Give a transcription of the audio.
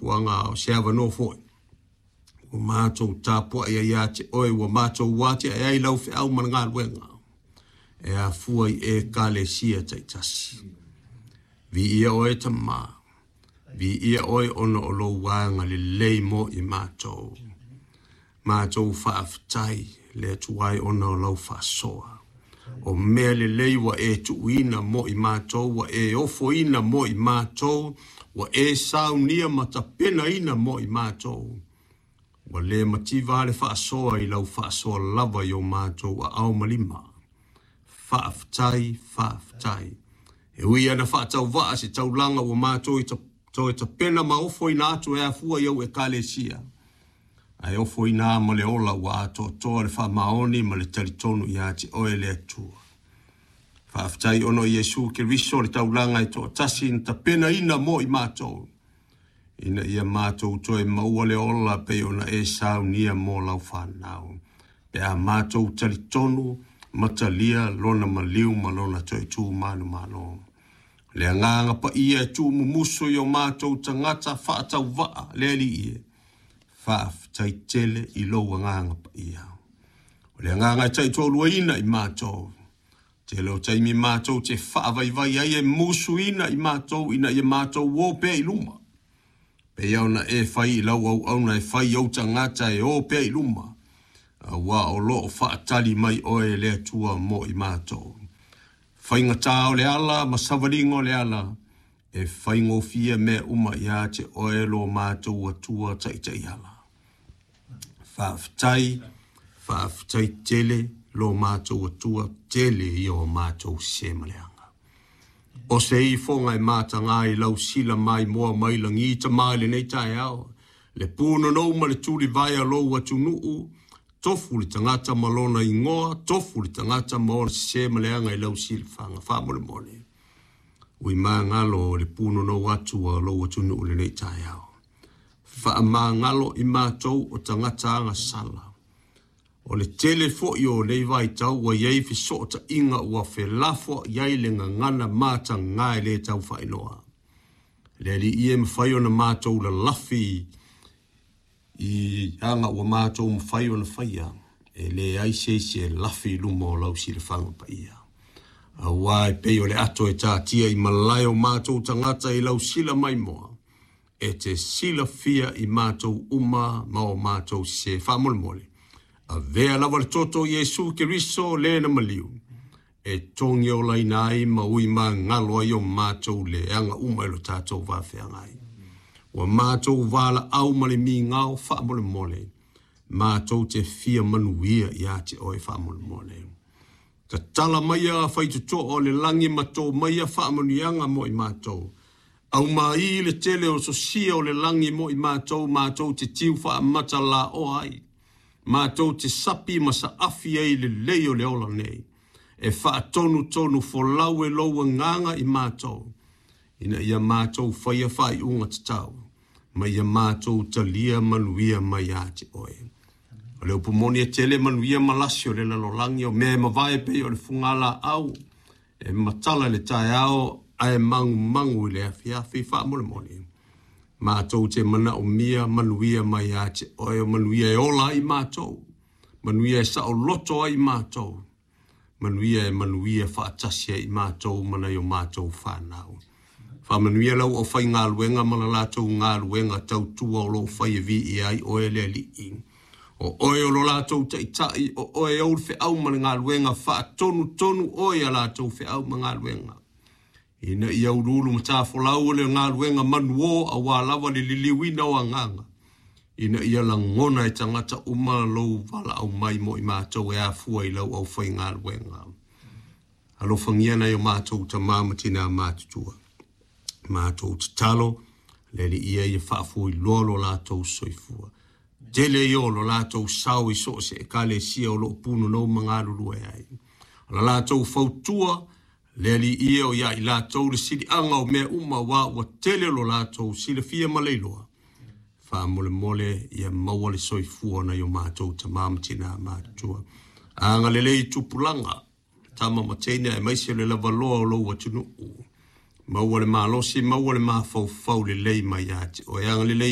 fuafuaga, a o se avanoa foi ua matou tapuai ai ia te oe, ua matou atiae ai lau feau ma le galuega e afua i Ekalesia taitasi. Viia oe Tama, viia oe ona o lou agalelei mo i matou. Matou faafetai le Atua e ona o lau faasoa. O mea lelei ua e tuuina mo i matou, ua e ofoina mo i matou, ua e saunia ma tapenaina mo i matou. Ua le mativa le faasoa i lau faasoa lava i o matou aao ma lima. Faafetai, faafetai. E ui ana faatauvaa se taulaga ua matou toe tapena ma ofoina atu e afua i au Ekalesia, ae ofoina ma le ola ua atoatoa le faamaoni ma le talitonu ia te oe le Atua. Faafetai ona o Iesu Keriso le taulaga e toatasi na tapenaina mo i matou, ina ia matou toe maua le ola pei ona e saunia mo lau fanau, pe a matou talitonu ma talia lona maliu ma lona toe tu manumalo. Le agaga paia e tuumumusu i o matou tagata faatauvaa le Alii e, faafetai tele i lou agaga paia. O le agaga e taitoaluaina i matou, tele o taimi matou te faavaivai ai e musuina i matou ina ia matou o pea i luma. Pei ona e fai i lau auauna e fai i ou tagata e o pea i luma, aua o loo faatali mai oe le Atua mo i matou. Faigata o le ala ma savaliga o le ala, e faigofie mea uma ia te oe lo matou Atua taitaiala. Faafetai, faafetai tele lo matou Atua, tele ia o matou se ma leaga. O se ifoga e mataga i lau sila mai moa mai lagi tama i lenei taeao, le punonou ma le tulivae a lou atunuu, tofu le tagata ma lona igoa, tofu le tagata ma ona sese ma leaga i lau silafaga faamolemole. Ui magalo o le punonou atu a lou atunuu i lenei taeao. Faamagalo i matou o tagata agasala. O le tele foi o nei vaitau ua i ai fesootaiga ua felafoai ai le gagana mataga e le tau faailoa. Le Alii e mafai ona matou lalafi i aga ua matou mafai ona faia, e leai se isi e lafi i luma o lau silafaga paia. Aua e pei o le ato e tatia i malae o matou tagata i lau sila maimoa, e te silafia i matou uma ma o matou sese faamolemole. Avea lava le toto o Iesu Keriso le na maliu, e togi olaina ai ma ui magalo ai o matou leaga uma i lo tatou vafeagai. Ua matou valaau ma le migao faamolemole, matou te fia manuia ia te oe faamolemole. Tatala maia faitotoa o le lagi ma tō maia faamanuiaga mo i matou. Aumai le tele o sosia o le lagi mo i matou, matou te tiu faamata laoa ai. Matou te sapi ma saafi ai lelei o le ola nei. E faatonutonu folau e lou agaga i matou, ina ia matou faia faaiuga tatau, ma ia matou talia manuia mai ia te oe. O le upu moni e tele manuia ma lasi o le lalolagi, o mea e mavae pei o le fugalaau, e matala i le taeao ae magumagu i le afiafi faamolemole. Matou te manaomia manuia mai ia te oe, o manuia e ola ai matou, manuia e saoloto ai matou, manuia e manuia faatasi ai matou ma nai o matou fanau. Faamanuia lau aufaigaluega ma la latou galuega tautua o loo fai e viia ai oe le Alii. O oe o lo latou taitai, o oe ou le feau ma le galuega, faatonutonu oe ia latou feau ma galuega. Ina ia uluulu matafolau o le galuega manuō aua lava le liliuina o agaga, ina ia lagona e tagata uma lou valaau mai mo i matou e afua i lau aufaigaluega. Alofagia nai o matou tama ma tina matutua. Matou tatalo, le Alii ia faafuiloa lo latou soifua. Tele ia o lo latou sao i so o se Ekalesia o loo punonou ma galulue ai. O la latou fautua, le Alii o ia i latou le siliaga o mea uma aua ua tele lo latou silafia ma le iloa. Faamolemole ia maua le soifua nai o matou tama ma tina matutua. Agalelei i tupulaga, tama ma teine aemaise le lavaloa o lou atunuu. Maua le malosi, maua le mafaufau lelei mai ia te oe. Agalelei.